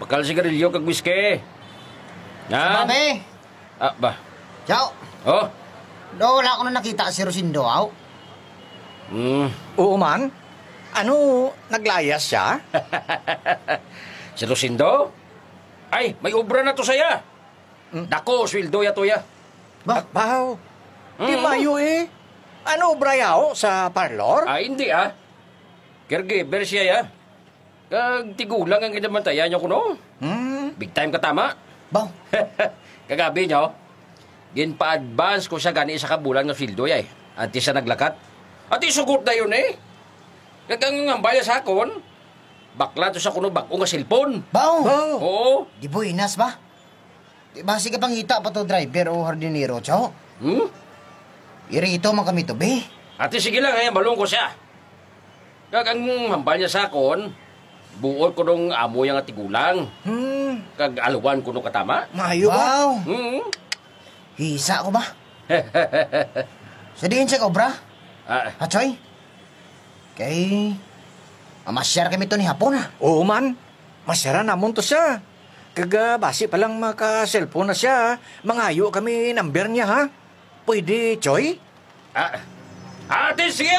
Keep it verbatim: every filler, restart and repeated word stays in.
Kal sigarilyo kag whisky. Ha? Babe! Ah, ba? Chow! Oh? Do, wala ko na nakita si Rosindo, aw? Hmm. Oo man. Ano, naglayas siya? Si Rosindo? Ay, may obra na to saya. Hmm. Dako, sweldo ya to ya. Ba? Ah, baw. Di Mm. mayo eh. Ano, obra yaw sa parlor? Ah, hindi ah. Caregiver siya ya. Kag tigulang ang ginabantayan niya kuno. Hmm. Big time ka tama. Baw. Kagabi niyo, ginpa-advance ko siya gani sa kabulan nga sweldo yay. Antes siya naglakat. Ati sugot na yun eh. Kag ang hambal niya sa akon, bakla to sa kuno bag-o nga cellphone. Baw. Baw. Oo. Di buenas ba? Di ba, sige pangita pa to driver o hardinero, Chow? Hmm? Irito man kami to, be. Ati sige lang, eh, malungkot siya. Kag ang hambal niya sa akon, buot ko nung amo yang tigulang. Hmm. Kag aluwan ko nung katama. Maayo ba? Wow. Hmm. Hisa ko ba? Sa diin siya obra? Ah. Hachoy? Kay, mamasyar kami to ni hapon, ha? Oo man. Masyaran namon to siya. Kag, ah, basi pa lang maka-cellphone na siya, mangayo kami number niya, ha? Pwede, Choy? Ah, ate, sige!